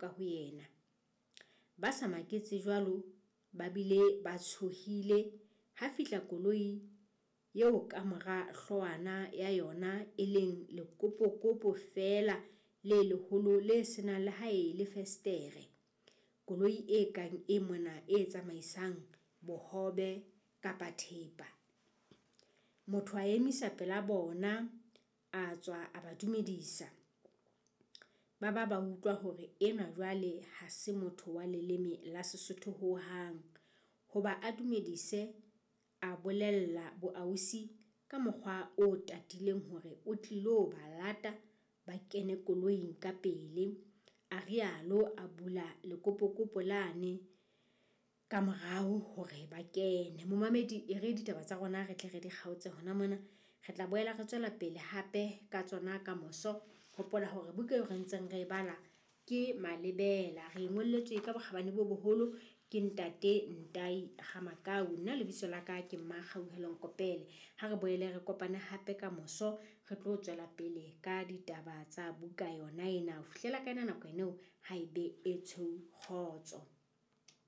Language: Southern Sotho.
Ka ho yena. Ba sa maketse jwalo ba bile ba tshohile, ha fihla koloi eo kamora hloohwana ya yona e leng lekopokopo feela le leholo le se nang le ha e le fesetere. Koloi e kang e mona e tsamaisang bohobe kapa thepa. Motho a emisa pela bona, a tswa a ba dumedisa. Ba ba ba utlwa hore enwa jwale ha se motho wa leleme la Sesotho hohang. Hoba a dumedise, a bolella boausi ka mokgwa o tatileng hore o tlilo ba lata ba kene koloing ka pele. A rialo a bula lekopokopo lane ka morao hore ba kene. Momamedi e re ditaba tsa rona re tle re di kgaotse hona mona. Re tla boela re tswela pele hape ka tsona ka moso. Hopola hore buka eo re ntseng re e bala ke Malebela. Re e ngolletswe ka bokgabane bo boholo ke ntate Ntai Ramakau. Nna lebitso la ka ke Mmakgauhelo Nkopele. Ha re boele re kopane hape ka moso re tlo tswela pele ka ditaba tsa buka yona ena. Ho fihlela ka yona nako eno ha e be e tshweu kgotso.